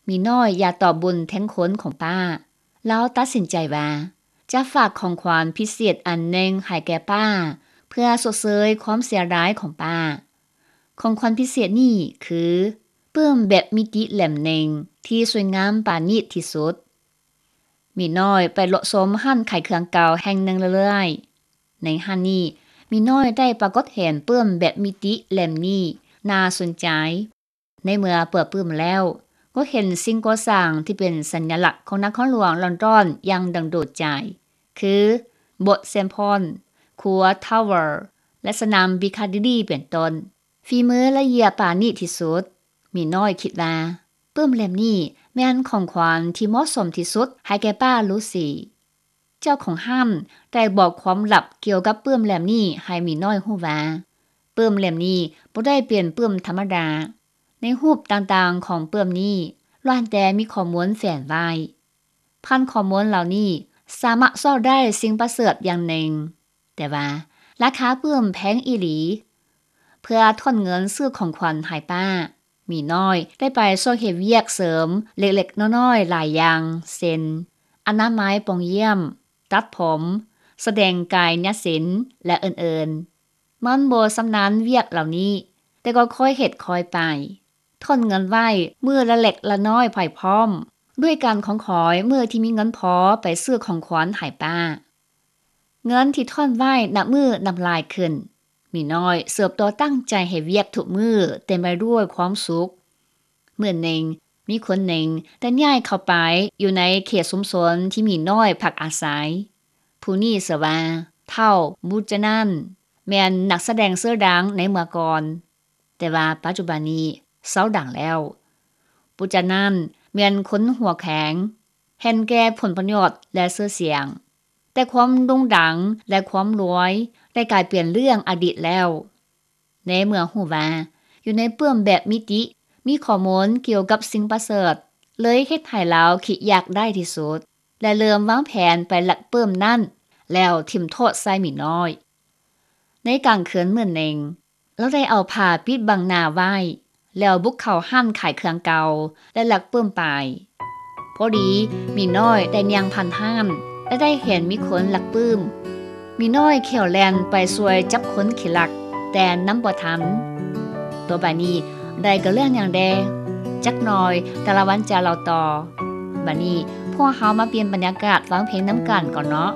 ໝີນ້ອຍຢ່າຕອບບຸນແທນຄຸນຂອງປ້າ. ລາວຕັດສິນໃຈວ່າຈະຝາກຂອງຂວັນພິເສດອັນໜຶ່ງໃຫ້ແກ່ປ້າ ເພື່ອຊົດເຊີຍຄວາມເສຍດາຍຂອງປ້າ. ຂອງຂວັນພິເສດນີ້ຄືປຶ້ມແບບມິຕິເຫຼັ້ມໜຶ່ງທີ່ສວຍງາມປານີດທີ່ສຸດ. ໝີນ້ອຍໄປເລາະຊົມຮ້ານຂາຍເຄື່ອງເກົ່າແຫ່ງໜຶ່ງເລື້ອຍໆ. ໃນຮ້ານນີ້ ໝີນ້ອຍໄດ້ປາກົດເຫັນປຶ້ມແບບມິຕິເຫຼັ້ມນີ້ໜ້າສົນໃຈ. ໃນເມື່ອເປີດປຶ້ມແລ້ວ ກໍເຫັນສິ່ງກໍ່ສ້າງທີ່ເປັນສັນຍະລັກຂອງນະຄອນຫຼວງລອນດອນຢ່າງດຶງດູດໃຈ ຄື ໂບດເຊນພອນ, ຂົວທາວເວີ ແລະ ສະໜາມພິຄາດີລີ ເປັນຕົ້ນ. ຝີມືລະອຽດປານີດທີ່ສຸດ. ໝີນ້ອຍຄິດວ່າ ປຶ້ມເຫຼັ້ມນີ້ແມ່ນຂອງຂວັນທີ່ເໝາະສົມທີ່ສຸດໃຫ້ແກ່ປ້າລູຊີ. ເຈົ້າຂອງຮ້ານໄດ້ບອກຄວາມລັບກ່ຽວກັບປຶ້ມເຫຼັ້ມນີ້ໃຫ້ໝີນ້ອຍຮູ້ວ່າ ປຶ້ມເຫຼັ້ມນີ້ບໍ່ໄດ້ເປັນປຶ້ມທຳມະດາ. ໃນຮູບຕ່າງໆຂອງປຶ້ມນີ້ ລ້ວນແຕ່ມີຂໍ້ມູນແຝງໄວ້. ຜ່ານຂໍ້ມູນເຫຼົ່ານີ້ ສາມາດຊອກໄດ້ສິ່ງປະເສີດຢ່າງໜຶ່ງ, ແຕ່ວ່າລາຄາປຶ້ມແພງອີ່ຫຼີ. ເພື່ອທ້ອນເງິນຊື້ຂອງຂວັນໃຫ້ປ້າ, ໝີນ້ອຍໄດ້ໄປຊ່ວຍເຮັດວຽກເສີມເລັກໆນ້ອຍໆຫຼາຍຢ່າງ ເຊັ່ນ ອະນາໄມປ່ອງຢ້ຽມ, ຕັດຜົມ, ສະແດງກາຍຍະສິນ ແລະ ອື່ນໆ. ມັນບໍ່ຊຳນານວຽກເຫຼົ່ານີ້, ແຕ່ກໍຄ່ອຍເຮັດຄ່ອຍໄປ, ທ້ອນເງິນໄວ້ມື້ລະເລັກລະນ້ອຍໄປພ້ອມ, ດ້ວຍການຂອງຂອຍມື້ທີ່ມີເງິນພໍໄປຊື້ຂອງຂວັນໃຫ້ປ້າ. ເງິນທີ່ທ້ອນໄວ້ນັບມື້ນັບຫຼາຍຂຶ້ນ. ໝີນ້ອຍເຕີບໂຕຕັ້ງໃຈເຮັດວຽກທຸກມື້ເຕັມໄປດ້ວຍຄວາມສຸກ. ມື້ໜຶ່ງ, ມີຄົນໜຶ່ງໄດ້ຍ້າຍເຂົ້າໄປຢູ່ໃນເຂດຊຸມຊົນທີ່ໝີນ້ອຍພັກອາໄສ. ຜູ້ນີ້ຊື່ວ່າທ້າວ ບູຈະນັນ, ແມ່ນນັກສະແດງຊື່ດັງໃນເມື່ອກ່ອນ, ແຕ່ວ່າປັດຈຸບັນນີ້ເຊົາດັງແລ້ວ. ບູຈະນັນແມ່ນຄົນຫົວແຂງ, ເຫັນແກ່ຜົນປະໂຫຍດ ແລະ ຊື່ສຽງ, ແຕ່ຄວາມໂດ່ງດັງ ແລະ ຄວາມລວຍໄດ້ກາຍເປັນເລື່ອງອະດີດແລ້ວ. ໃນເມື່ອຮູ້ວ່າຢູ່ໃນປຶ້ມແບບມິຕິມີຂໍ້ມູນກ່ຽວກັບສິ່ງປະເສີດ, ເລີຍເຮັດໃຫ້ລາວຄິດຢາກໄດ້ທີ່ສຸດ ແລະ ເລີ່ມວາງແຜນໄປລັກປຶ້ມນັ້ນ ແລ້ວຖິ້ມໂທດໃສ່ໝີນ້ອຍ. ໃນກາງຄືນມື້ໜຶ່ງ, ລາວໄດ້ເອົາຜ້າປິດບັງໜ້າໄວ້ ແລ້ວບຸກເຂົ້າຮ້ານຂາຍເຄື່ອງເກົ່າ ແລະ ລັກປຶ້ມໄປ. ພໍດີໝີນ້ອຍໄດ້ຍ່າງຜ່ານຮ້ານ ແລະ ໄດ້ເຫັນມີຄົນລັກປຶ້ມ. ໝີນ້ອຍແຂ້ວແລ່ນໄປຊ່ວຍຈັບຄົນຂີ້ລັກ, ແຕ່ນຳບໍ່ທັນ. ຕໍ່ໄປນີ້ໄດ້ກະເລື່ອງຫຍັງແດ່? ຈັກໜ່ອຍຕາລະວັນຈະເລົ່າຕໍ່. ບັດນີ້ພວກເຮົາມາປ່ຽນບັນຍາກາດຟັງເພງນຳກັນກ່ອນເນາະ.